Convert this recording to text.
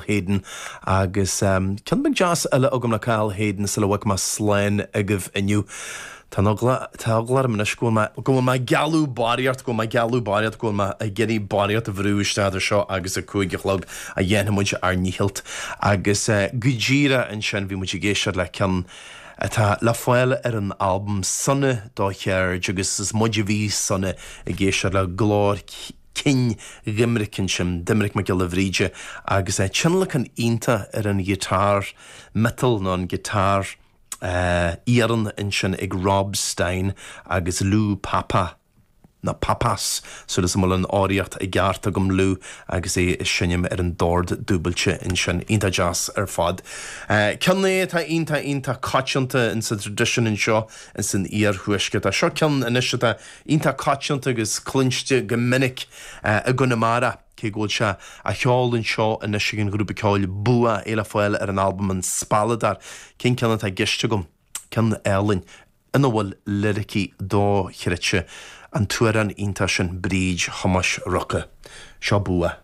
Hayden agus ceann beag deas eile agam le Cathal Hayden sula bhfágfaidh mé slán agaibh inniu. Tá an eagla, tá eagla orm anois go bhfuil mé, go bhfuil mé ag gealladh barraíocht, go bhfuil mé ag gealladh barraíocht, go bhfuil mé ag iarraidh barraíocht a bhrú isteach idir seo agus a 5 a chlog a dhéanfaidh muid ár ndícheall. Agus go díreach ansin bhí muid ag éisteacht le ceann atá le fáil ar an albam Sona do Cheird agus is muid a bhí sona ag éisteacht le glór cinn Dhoiminic ansin, Doiminic Mac Giolla Bhríde agus tionlacan iontach ar an ghiotár miotail nó an giotár iarann ansin ag Rob Stein agus Lou Papa. nó Pappas, súil is go bhfuil an fhoghraíocht i gceart agam, Lou agus é ag seinm ar an dord dúbailte ansin. Iontach deas ar fad. Ceann é atá iontach iontach coitianta in sa traidisiún anseo in san iarthuaisceart. Seo ceann anois atá iontach coitianta agus cluinste go minic i gConamara, cé go bhfuil sé á cheol anseo anois ag an ghrúpa ceoil Bua, é le fáil ar an albam An Spealadóir. Cén ceann atá i gceist agam? Ceann álainn. ina bhfuil liricí dochreidte, an t-amhrán iontach sin Bríd Thomáis Ruca. Seo Bua.